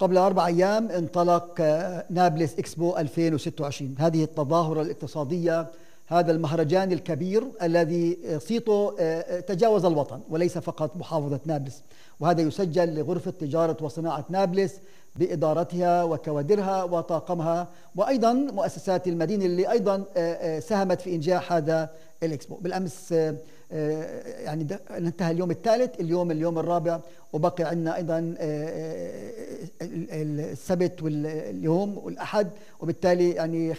قبل 4 أيام انطلق نابلس إكسبو 2026. هذه التظاهرة الاقتصادية، هذا المهرجان الكبير الذي صيته تجاوز الوطن وليس فقط محافظة نابلس، وهذا يسجل لغرفة تجارة وصناعة نابلس بإدارتها وكوادرها وطاقمها وأيضا مؤسسات المدينة اللي أيضا ساهمت في إنجاح هذا الإكسبو. بالأمس يعني انتهى اليوم الثالث، اليوم الرابع، وبقي عندنا أيضا السبت واليوم والأحد، وبالتالي يعني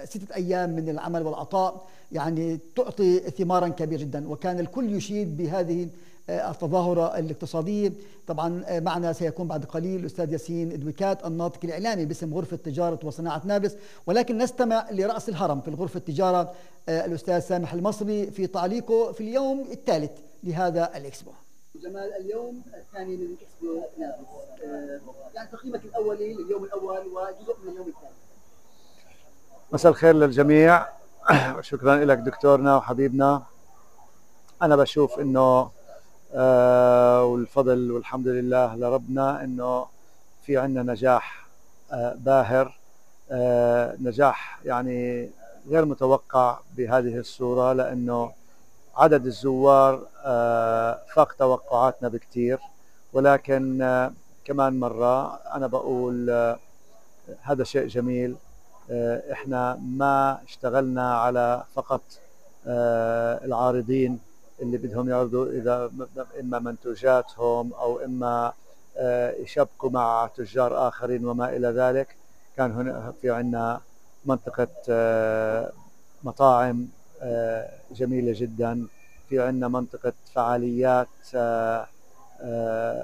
6 أيام من العمل والعطاء يعني تعطي ثمارا كبيرة جدا. وكان الكل يشيد بهذه التظاهرة الاقتصادية. طبعا معنا سيكون بعد قليل الأستاذ ياسين إدويكات الناطق الإعلامي باسم غرفة تجارة وصناعة نابلس، ولكن نستمع لرأس الهرم في الغرفة التجارة الأستاذ سامح المصري في تعليقه في اليوم الثالث لهذا الإكسبو. جمال، اليوم الثاني من إكسبو نابلس، يعني تقييمك الأولي لليوم الأول وجزء من اليوم الثاني. مساء الخير للجميع. شكرا لك دكتورنا وحبيبنا. أنا بشوف إنه والفضل والحمد لله لربنا إنه في عنا نجاح باهر، نجاح يعني غير متوقع بهذه الصورة، لأنه عدد الزوار فاق توقعاتنا بكتير. ولكن كمان مرة أنا بقول هذا شيء جميل. إحنا ما اشتغلنا على فقط العارضين اللي بدهم يعرضوا إذا إما منتوجاتهم أو إما يشبكوا مع تجار آخرين وما إلى ذلك. كان هنا في عنا منطقة مطاعم جميلة جدا، في عنا منطقة فعاليات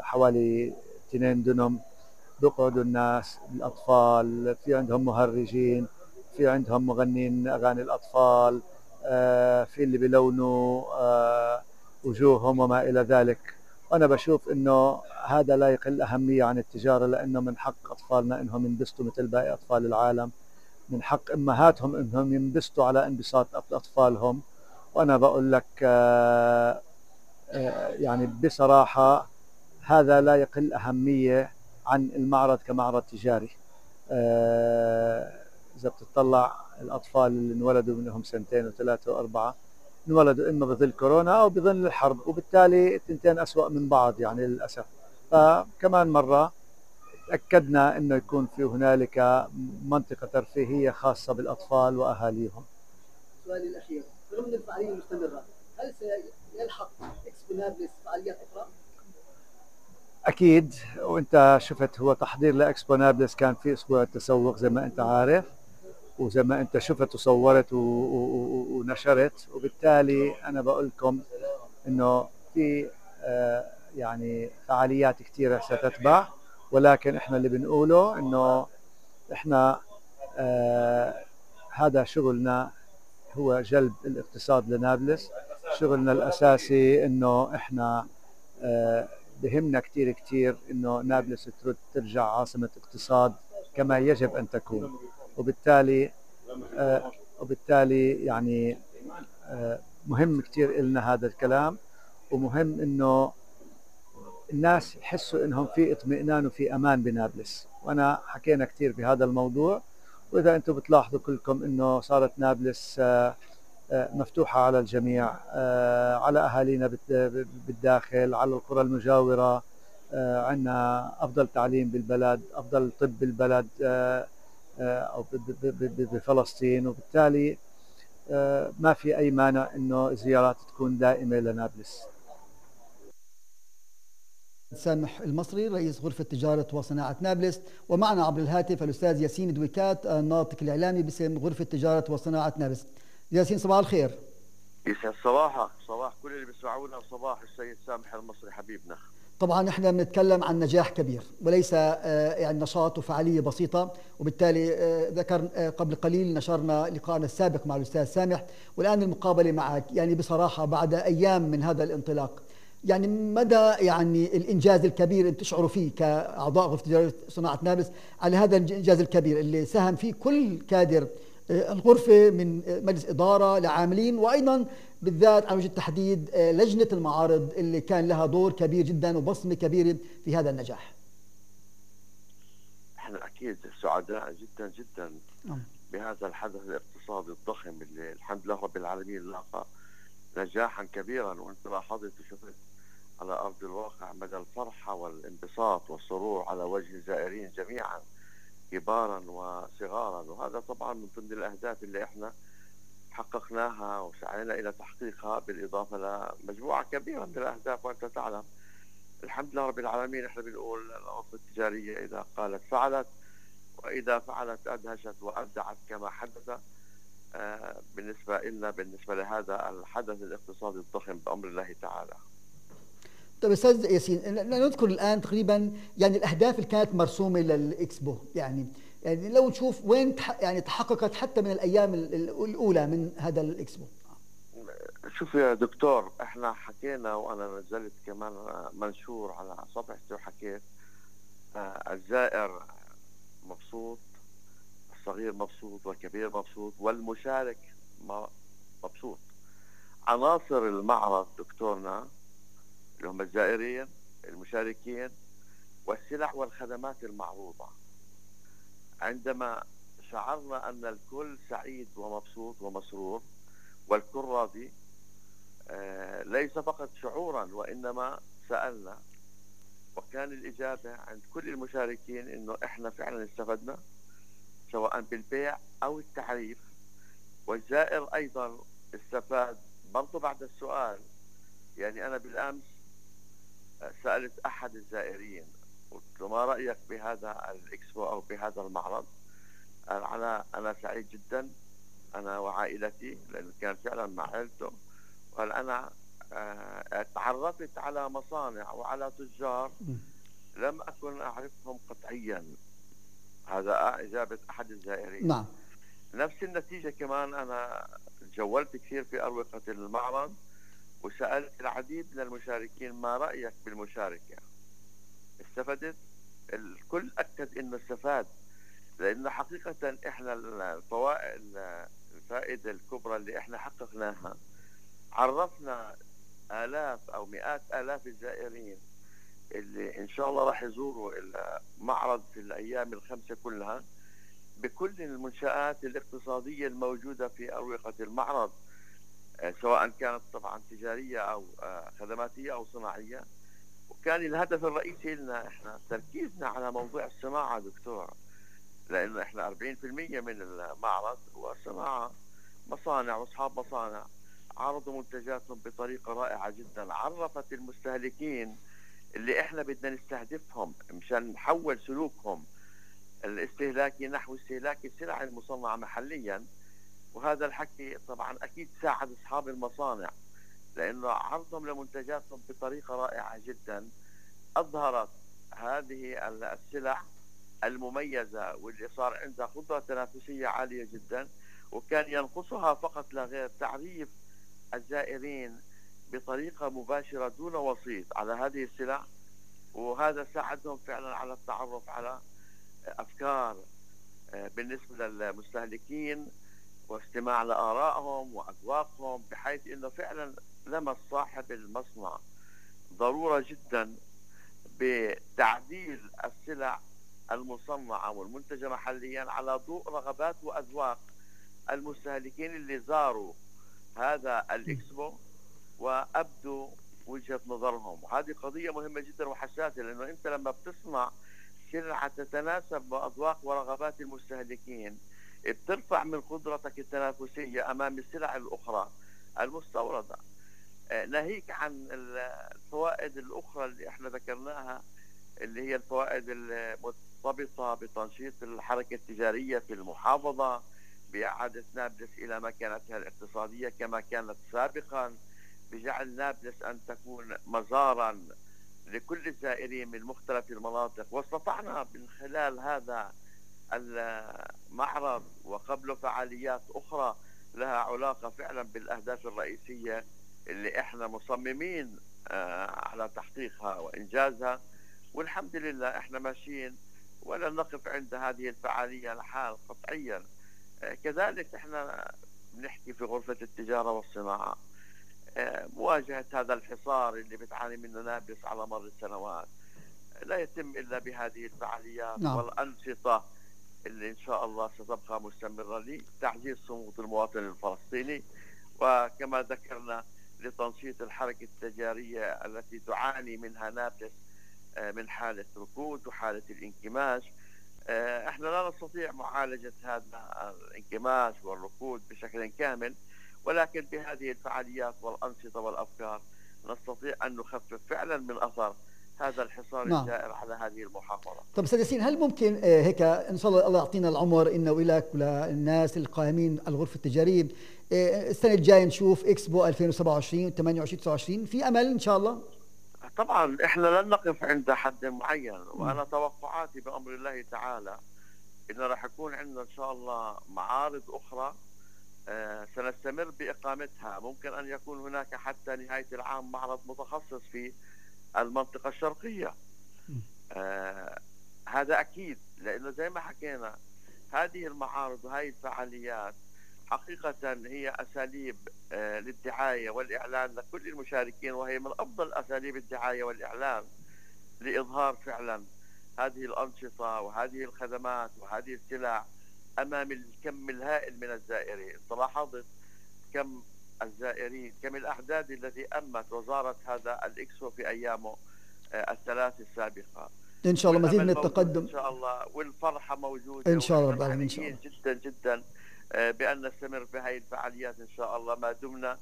حوالي 2 دنم بيقعدوا الناس الأطفال، في عندهم مهرجين، في عندهم مغنين أغاني الأطفال، في اللي بيلونوا وجوههم وما إلى ذلك. وأنا بشوف إنه هذا لا يقل أهمية عن التجارة، لأنه من حق أطفالنا إنهم ينبسطوا مثل باقي أطفال العالم، من حق أمهاتهم إنهم ينبسطوا على انبساط أطفالهم. وأنا بقول لك يعني بصراحة هذا لا يقل أهمية عن المعرض كمعرض تجاري. إذا بتطلع الأطفال اللي انولدوا منهم 2 و3 و4 انولدوا إما بظل كورونا أو بظل الحرب، وبالتالي التنتين أسوأ من بعض يعني للأسف. فكمان مرة تأكدنا إنه يكون في هنالك منطقة ترفيهية خاصة بالأطفال وأهاليهم. سؤالي الأخير، رغم من الفعالية المستمرة، هل سيلحق إكسبو نابلس فعاليات أخرى؟ أكيد. وأنت شفت هو تحضير لإكسبو نابلس كان في أسبوع التسوق زي ما أنت عارف، وزي ما أنت شفت وصورت ونشرت. وبالتالي أنا بقول لكم إنه في يعني فعاليات كثيرة ستتبع، ولكن إحنا اللي بنقوله إنه إحنا هذا شغلنا هو جلب الاقتصاد لنابلس. شغلنا الأساسي إنه إحنا بهمنا كتير إنه نابلس ترجع عاصمة اقتصاد كما يجب أن تكون. وبالتالي يعني مهم كتير إلنا هذا الكلام، ومهم إنه الناس يحسوا إنهم في اطمئنان وفي أمان بنابلس. وأنا حكينا كتير بهذا الموضوع، وإذا أنتم بتلاحظوا كلكم إنه صارت نابلس مفتوحة على الجميع، على أهالينا بالداخل، على القرى المجاورة. عندنا أفضل تعليم بالبلد، أفضل طب بالبلد أو بفلسطين، وبالتالي ما في أي مانع إنه الزيارات تكون دائمة لنابلس. سامح المصري رئيس غرفة تجارة وصناعة نابلس، ومعنا عبر الهاتف الأستاذ ياسين إدويكات الناطق الإعلامي باسم غرفة تجارة وصناعة نابلس. ياسين، صباح الخير. يسعد صباحك، صباح كل اللي بيسمعونا، وصباح السيد سامح المصري حبيبنا. طبعا احنا بنتكلم عن نجاح كبير وليس يعني نشاط وفعالية بسيطة، وبالتالي ذكر قبل قليل نشرنا لقاءنا السابق مع الأستاذ سامح، والآن المقابلة معك. يعني بصراحة بعد أيام من هذا الانطلاق، يعني مدى يعني الإنجاز الكبير اللي تشعروا فيه كأعضاء غرفة تجارة صناعة نابلس على هذا الإنجاز الكبير اللي ساهم فيه كل كادر الغرفة من مجلس إدارة لعاملين، وأيضا بالذات على وجه التحديد لجنة المعارض اللي كان لها دور كبير جدا وبصمة كبيرة في هذا النجاح. احنا اكيد سعداء جدا جدا نعم. بهذا الحدث الاقتصادي الضخم اللي الحمد لله رب العالمين لاقى نجاحا كبيرا، وانت لاحظت وشفت على ارض الواقع مدى الفرحه والانبساط والسرور على وجه الزائرين جميعا كبارا وصغارا. وهذا طبعا من ضمن الاهداف اللي احنا حققناها وسعينا الى تحقيقها، بالاضافه لمجموعه كبيره من الاهداف. وانت تعلم الحمد لله رب العالمين احنا بنقول الغرفه التجاريه اذا قالت فعلت، واذا فعلت ادهشت وابدعت كما حدث بالنسبه لنا، بالنسبه لهذا الحدث الاقتصادي الضخم بامر الله تعالى. طيب استاذ ياسين، نذكر الان تقريبا يعني الاهداف اللي كانت مرسومه للاكسبو، يعني لو نشوف وين يعني تحققت حتى من الايام الاولى من هذا الاكسبو. شوف يا دكتور، احنا حكينا وانا نزلت كمان منشور على صفحتي وحكيت الزائر مبسوط، الصغير مبسوط والكبير مبسوط والمشارك مبسوط. عناصر المعرض دكتورنا اللي هم الزائرين المشاركين والسلع والخدمات المعروضة، عندما شعرنا أن الكل سعيد ومبسوط ومسرور والكل راضي، ليس فقط شعورا وإنما سألنا، وكان الإجابة عند كل المشاركين إنه إحنا فعلا استفدنا سواء بالبيع أو التعريف، والزائر أيضا استفاد برضو بعد السؤال. يعني أنا بالأمس سألت أحد الزائرين قلت له ما رأيك بهذا الإكسبو أو بهذا المعرض؟ أنا سعيد جدا أنا وعائلتي، لأنه كان فعلا مع عائلته. قال أنا تعرفت على مصانع وعلى تجار لم أكن أعرفهم قطعيا. هذا إجابة أحد الزائرين. نعم. نفس النتيجة كمان أنا جولت كثير في أروقة المعرض وسألت العديد من المشاركين ما رأيك بالمشاركة؟ استفدت؟ الكل أكد إنه استفاد، لأنه حقيقة إحنا الفائدة الكبرى اللي إحنا حققناها، عرفنا آلاف أو مئات آلاف الزائرين اللي إن شاء الله راح يزوروا المعرض في الأيام الخمسة كلها بكل المنشآت الاقتصادية الموجودة في أروقة المعرض، سواء كانت طبعا تجارية أو خدماتية أو صناعية. وكان الهدف الرئيسي لنا إحنا تركيزنا على موضوع الصناعة دكتور، لأنه إحنا 40% من المعرض هو صناعة، مصانع وأصحاب مصانع عرضوا منتجاتهم بطريقة رائعة جدا، عرفت المستهلكين اللي إحنا بدنا نستهدفهم مشان نحول سلوكهم الاستهلاكي نحو استهلاك السلع المصنعة محليا. وهذا الحكي طبعا أكيد ساعد أصحاب المصانع، لأنه عرضهم لمنتجاتهم بطريقة رائعة جدا أظهرت هذه السلع المميزة واللي صار عندها قدرة تنافسية عالية جدا، وكان ينقصها فقط لا غير تعريف الزائرين بطريقة مباشرة دون وسيط على هذه السلع. وهذا ساعدهم فعلا على التعرف على أفكار بالنسبة للمستهلكين واستماع لآرائهم وأذواقهم، بحيث أنه فعلا لمس صاحب المصنع ضرورة جدا بتعديل السلع المصنعة والمنتجة محليا على ضوء رغبات وأذواق المستهلكين اللي زاروا هذا الإكسبو وأبدوا وجهة نظرهم. وهذه قضية مهمة جدا وحساسة، لأنه أنت لما بتصنع سلعة تتناسب مع أذواق ورغبات المستهلكين بترفع من قدرتك التنافسية أمام السلع الأخرى المستوردة. ناهيك عن الفوائد الأخرى اللي احنا ذكرناها، اللي هي الفوائد المرتبطة بتنشيط الحركة التجارية في المحافظة، بإعادة نابلس إلى مكانتها الاقتصادية كما كانت سابقا، بجعل نابلس أن تكون مزارا لكل الزائرين من مختلف المناطق. واستطعنا من خلال هذا المعرض وقبله فعاليات أخرى لها علاقة فعلا بالأهداف الرئيسية اللي احنا مصممين على تحقيقها وإنجازها. والحمد لله احنا ماشيين ولا نقف عند هذه الفعالية الحال قطعيا. كذلك احنا بنحكي في غرفة التجارة والصناعة مواجهة هذا الحصار اللي بتعاني منه نابلس على مر السنوات، لا يتم إلا بهذه الفعاليات نعم. والأنشطة اللي إن شاء الله ستبقى مستمرة لتعزيز صمود المواطن الفلسطيني، وكما ذكرنا لتنشيط الحركة التجارية التي تعاني منها نابلس من حالة ركود وحالة الانكماش. احنا لا نستطيع معالجة هذا الانكماش والركود بشكل كامل، ولكن بهذه الفعاليات والأنشطة والأفكار نستطيع أن نخفف فعلا من أثر هذا الحصار نعم. الجائر على هذه المحافظة. طب استاذ ياسين، هل ممكن هيك ان شاء الله يعطينا العمر انه ولك وللناس القائمين على الغرفه التجاريه السنه الجايه نشوف اكسبو 2027 28 29 في امل ان شاء الله؟ طبعا احنا لن نقف عند حد معين، وانا توقعاتي بامر الله تعالى ان راح يكون عندنا ان شاء الله معارض اخرى سنستمر باقامتها. ممكن ان يكون هناك حتى نهايه العام معرض متخصص في المنطقه الشرقيه. هذا اكيد، لانه زي ما حكينا هذه المعارض وهذه الفعاليات حقيقة هي أساليب للدعاية والإعلان لكل المشاركين، وهي من أفضل أساليب الدعاية والإعلان لإظهار فعلا هذه الأنشطة وهذه الخدمات وهذه السلع أمام الكم الهائل من الزائرين. لاحظت كم الزائرين، كم الأعداد التي أمت وزارت هذا الإكسبو في أيامه الثلاث السابقة. ان شاء الله مزيد من التقدم ان شاء الله، والفرحه موجوده ان شاء الله رب العالمين. ان شاء الله جدا جدا بان نستمر بهذه الفعاليات ان شاء الله ما دمنا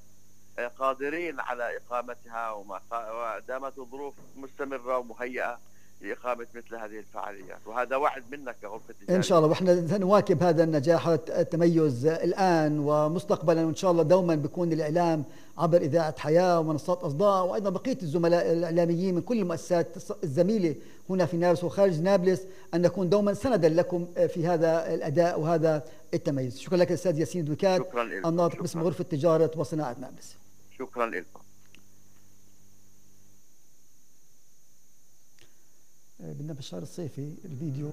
قادرين على اقامتها، وما دامت الظروف مستمره ومهيئه لإقامة مثل هذه الفعاليات، وهذا وعد منك كغرفة تجارية. إن شاء الله، وإحنا سنواكب هذا النجاح والتميز الآن ومستقبلا، وإن شاء الله دوما بيكون الإعلام عبر إذاعة حياة ومنصات أصداء، وأيضا بقية الزملاء الإعلاميين من كل المؤسسات الزميلة هنا في نابلس وخارج نابلس أن نكون دوما سندا لكم في هذا الأداء وهذا التميز. شكرا لك الأستاذ ياسين دويكات، الناطق باسم غرفة تجارة وصناعة نابلس. شكرا لكم. بدنا بالشهر الصيفي الفيديو